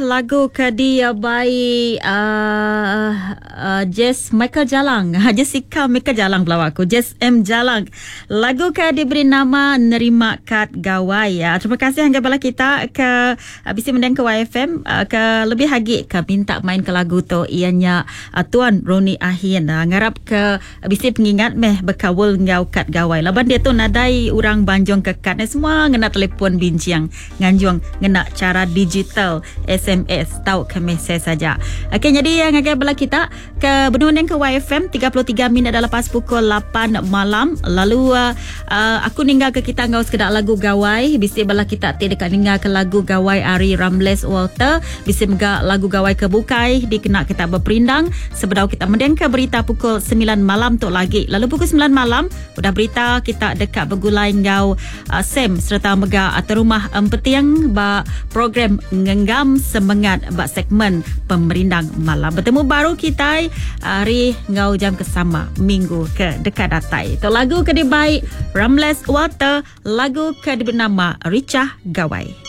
lagu ke dibai uh, uh, Jess Michael Jalang. Jessica Michael Jalang pelawa aku. Jess M Jalang. Lagu ke diberi nama Nerima Kad Gawai. Ya. Terima kasih hingga bala kita ke uh, bisi mending ke YFM uh, ke lebih agi ke minta main ke lagu tu ianya uh, Tuan Roni Ahin. Uh, ngarap ke bisi pengingat meh bekawul ngau kad gawai. Laban dia tu nadai orang banjung ke kad ni semua ngena telefon binching nganjung ngena chara digital SMS tau ke mesej saja. Okey nyadi eh, ngagai bala kita ke benung ke YFM 33 minit dah lepas pukul 8 malam lalu uh, uh, aku ninggal ke kita ngau sekeda lagu gawai bisi bala kita ti deka ninggal ke lagu gawai ari Ramles Walter bisi mega lagu gawai ke bukai dikena kita beperindang sebedau kita mending ke berita pukul 9 malam tu lagi. Lalu pukul 9 malam udah berita kita deka begulai ngau uh, Sam sereta mega atur rumah Empeting ba program Ngenggam Semengat ba segmen Pemerindang Malam. Betemu baru kitai hari ngau jam ke sama minggu ke deka datai. Tu lagu ke dibai Ramles Walter, lagu ke diberi nama Richah Gawai.